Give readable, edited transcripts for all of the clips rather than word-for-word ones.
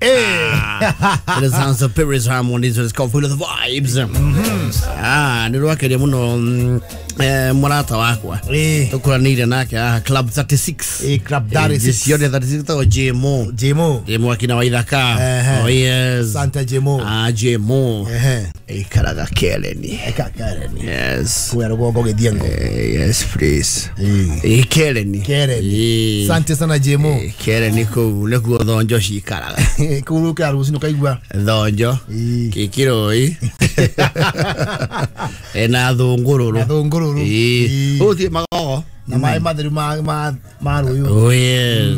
It sounds of Paris Harmonies, it's called Full of the Vibes. Nä rwakeria må no må rata wakwa tå kå ranä ire nake haha Club 36. Club 36. Ciothe 36 tagwo Jmo. Jemo. Jmo akina Waithaka. Ehe. Oh yes. Santa Jemo. Jmo. Ehe. Ikaraga Kereni. Eka Karen. Yes. Kuya rũgongo gĩthiengo. Yes please. Eh. Kereni. Karen. Sante sana Jemo. Kereni kũu nĩkuo thonjo cikaraga. Kũu ũkĩra rũcinĩ ũkaigua. Thonjo. Ĩĩ. Kĩkĩroi. Na thũngũrũrũ. Na thũngũrũrũ. Ĩĩ. Ũthiĩ magogo. Na maĩ matheru ma rũĩ. Oh yes.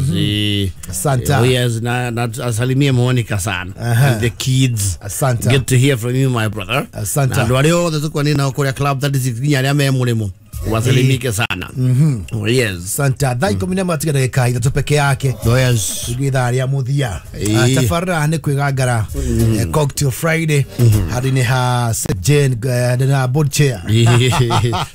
Asante. Oh yes, na asalimie Monica sana. Aha. And the kids. Asante. Good to hear from you my brother. Asante. Na andũ arĩa othe tũkwanĩ nao kũrĩa Club 36 nginya arĩa me mũrĩmo. Wasalimike sana. Oh yes. Santa thaa 11 tiga ndagĩka 3 peke yake. Oh yes. Tũthiĩ ithaa rĩa mũthia. Ĩĩ. Tabarĩra nĩ kwĩgangara Cocktail Friday handũ-inĩ ha St. Jane handũ-inĩ ha board chair.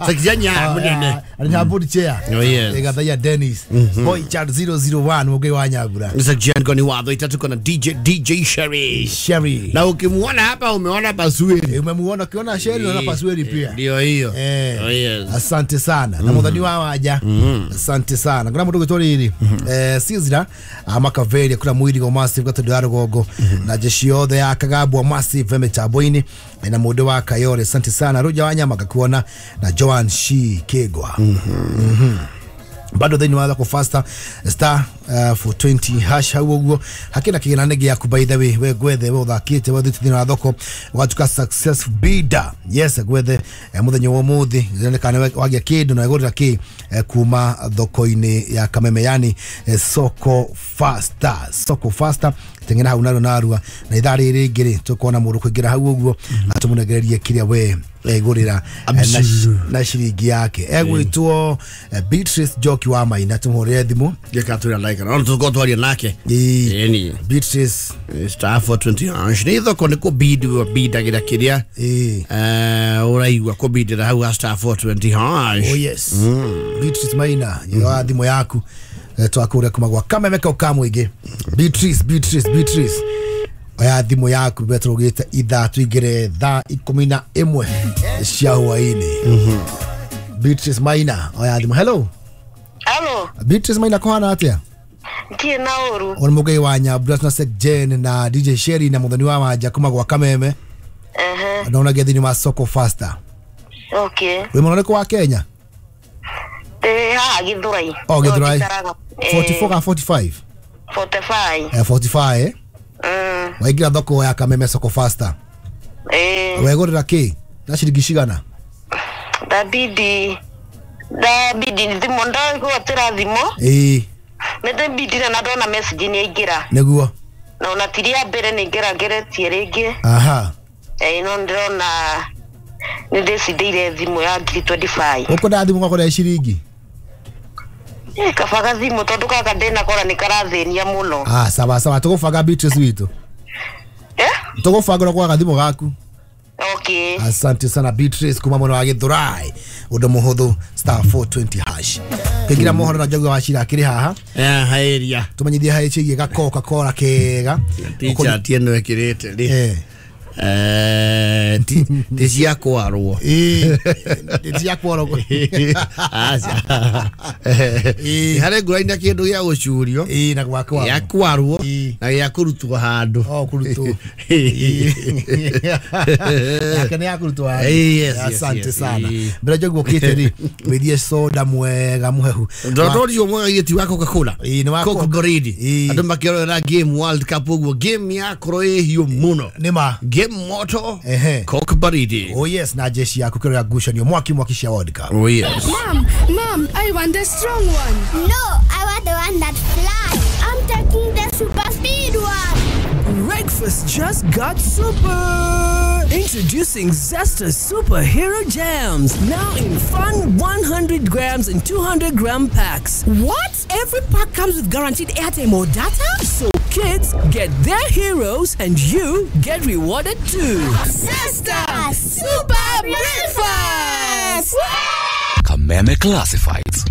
Sakijanya munene. Handũ-inĩ ha board chair. Oh, yes. Ĩgathaia Dennis Boy Chat 001 mũngĩ wa Nyambura. Sakijanya ni watho itatu kona DJ Sherry. Sherry. Na ukimuona hapa umeona Pasweli. Umemuona ukiona Sherry unaona Pasweli pia. Ndio hiyo. Eh. Oh yes. Asante sana na muthani wa wanja. Asante sana kuna mundu gwitwo riri Sizra Makaveri kuna mwirigo massive gatundu ya rugongo na jeshi yothe ya Kagambwa massive mitambo-ini na mundu wa Kayore. Asante sana Ruja wa Nyama gakuona na Joan Shi Kegwa. Bado thĩinĩ wa thoko faster star 420 hash hau ũguo hakĩna kĩgĩna nĩ gĩaku by the way we gwethe we ũthakĩte we ũthiĩte thĩinĩ wa thoko ũgatuĩka success bidder. Yes gwethe mũthenya wa ũmũthĩ kana wagĩa kĩndũ na wegũrĩra kĩ kuma thoko-inĩ ya Kameme yani soko faster. Soko faster teng'era hau narua narua na ithaa rĩrĩ rĩngĩ rĩ tũkuona mũndũ kũingĩra hau ũguo na tũmũnengererie kĩrĩa we egũrĩra na ciringi yake. Egwĩtwo Beatrice Njoki wa Maina tũmũhũrĩre thimũ Gĩkatwĩra ndagĩka no tũkorwo twaria nake. Ĩĩ. Ĩni. Beatrice Star 420 hash nĩ thoko nĩ kũbid bidagĩra kĩrĩa ĩĩ ũraigua kũbidĩra hau ha star 420 hash. Oh yes. Beatrice Maina yoa thimũ yaku twakũrĩa kuma gwa Kameme kau ka mũingĩ. Beatrice Beatrice Beatrice oya thimũ yaku betũrũgĩte ithaa tũingĩre thaa 11 cia hwaĩ-inĩ. Beatrice Maina oya thimũ. Hello. Hello. Beatrice Maina kũhana atĩa? Ndirĩ na ũru. Ũrĩ mũgei wa Nyambura na Sek Jane na DJ Sherry na mũthoni wa wanja kuma gwa Kameme. Ehe. Na ũnagia thĩinĩ wa soko faster. Okay. Wĩ mwena ũrĩkũ wa Kenya? Haha Githurai. Oh Githurai. 44 ka 45? 45. 45 Waingĩra thoko ya Kameme soko faster. Wegũrĩra kĩ na ciringi cigana? Ndabidi thimũ ndagwatĩra thimũ. Ĩĩ. Nĩndabidire na ndona message nĩ yaingĩra. Nĩguo. Na ona ti rĩa mbere nĩ ngerageretie rĩngĩ. Aha. No ndĩrona nĩ ndĩcindĩire thimũ ya 2025. Ũkwenda thimũ ũgakora ciringi? Kabaga thimũ tondũ gaka ndĩnakora nĩ karathĩnia mũno. Sawa sawa tũgũbanga Beatrice witũ. Tũgũbanga ũrĩa kwaga thimũ gaku. Okay. Asante sana Beatrice kuma mwena wa Githurai. Ũndũ mũhũthũ star 420 hash. Kĩngira mohoro na Njogu wa Wachira akĩrĩ haha. Haeria. Tũmenyithie harĩ ciĩgiĩ ga Coca-Cola kega. T-shirt ĩno ĩkĩrĩte rĩ. Ti cia kwarwo. Ti cia kwarwo. Aca. Harĩ ngũrani na kĩndũ gĩa gũcurio. Na gwa kwarwo. Gĩa kwarwo na gĩa kũrutwo handũ. Oh kũrutwo. Yake nĩ ya kũrutwo handũ. Yes, Asante sana. Mbere Njogu ũkĩte rĩ wĩthie soda mwega mũhehu. Ndondorio mwega gĩti wa Coca-Cola. Nĩ wa Coca Baridi. Andũ makĩrorera game World Cup ũguo game yakorwo ĩ hiũ mũno. Nĩ ma. Game moto. Coke Baridi. Oh yes, na jeshi yaku kĩrora ngucanio mwaki mwaki cia World Cup. Oh yes. Mom, I want the strong one. No, I want the one that flies. I'm taking the super speed one. Breakfast just got super. Introducing Zesta Superhero Jams, now in fun 100 grams and 200 gram packs. What? Every pack comes with guaranteed airtime or data? So kids get their heroes and you get rewarded too. Zesta Super Breakfast! Kameme Classifieds.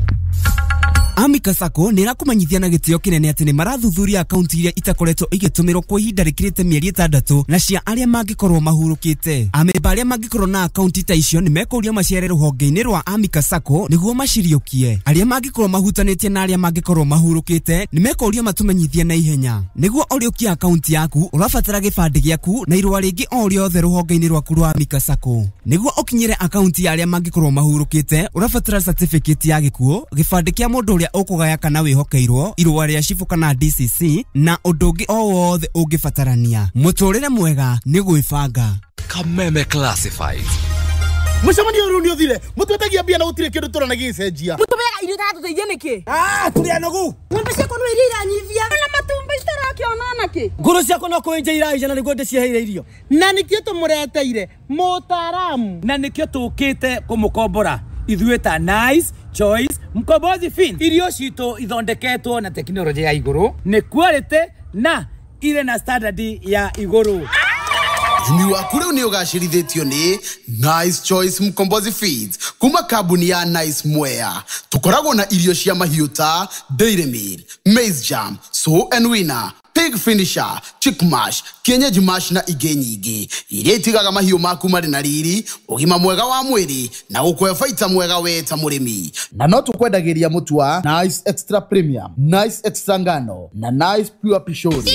Amika Sacco nä ĩrakũmenyithia na gĩtĩo kĩnene atĩ nĩ marathuthuria akaunti iria itakoretwo igĩtũmĩrwo kwa ihinda rĩkĩrĩte mĩeri 6 na cia arĩa mangĩkorwo mahurũkĩte. Amemba arĩa mangĩkorwo na akaunti ta icio nĩ mekũrio macere rũhonge-inĩ rwa Amika Sacco nĩguo maciriũkie. Arĩa mangĩkorwo mahutanĩtie na arĩa mangĩkorwo mahurũkĩte nĩ mekũrio matũmenyithie na ihenya. Nĩguo ũrĩũkie akaunti yaku ũrabatara gĩbandĩ gĩaku na irũa rĩngĩ o rĩothe rũhonge-inĩ rwaku rwa Amika Sacco. Nĩguo ũkinyĩre akaunti ya arĩa mangĩkorwo mahurũkĩte ũrabatara certificate ya gĩkuũ, gĩbandĩ kĩa mũndũ ũrĩa ũkũgaya kana wĩhokeirwo, irũa rĩa cibũ kana DCC na ũndũ ũngĩ o wothe ũngĩbatarania. Mũtũrĩre mwega nĩ gwĩbanga. Kameme Classifieds. Mucemanio rĩu nĩ ũthire mũtwetagia mbia na gũtirĩ kĩndũ tũrona gĩgĩcenjia. Mũtũmeaga irio itatũteithia nĩkĩ? Tũrĩ anogu. Ng'ombe ciakwa no iria iranyivia na matumbĩ itarakĩona nakĩ. Ngũrũ ciakwa no kũenja iraija na nĩguo ndĩciheire irio. Na nĩkĩo tũmũreteire mũtaaramu. Na nĩkĩo tũkĩte kũmũkombora ithuĩ ta Nice Choice Mkombozi Fin. Irio citũ ithondeketwo na tekinoronjĩ ya igũrũ, nĩ quality na irĩ na standard ya igũrũ. Ũrĩmi waku rĩu nĩ ũgacĩrithĩtio nĩ Nice Choice Mkombozi Feeds kuma kambuni ya Nice Mwea. Tũkoragwo na irio cia mahiũ ta Dairy Meal, Maize Jam, Sow and Winner, Pig Finisher, Chick Mash, Kienyeji Mash na ingĩ nyingĩ iria itigaga mahiũ maku marĩ na riri, ũgima mwega wa mwĩrĩ na gũkũhe baita mwega we ta mũrĩmi. Na no tũkwendagĩria mũtu wa Nice Extra Premium, Nice Extra Ngano na Nice Pure Pishori.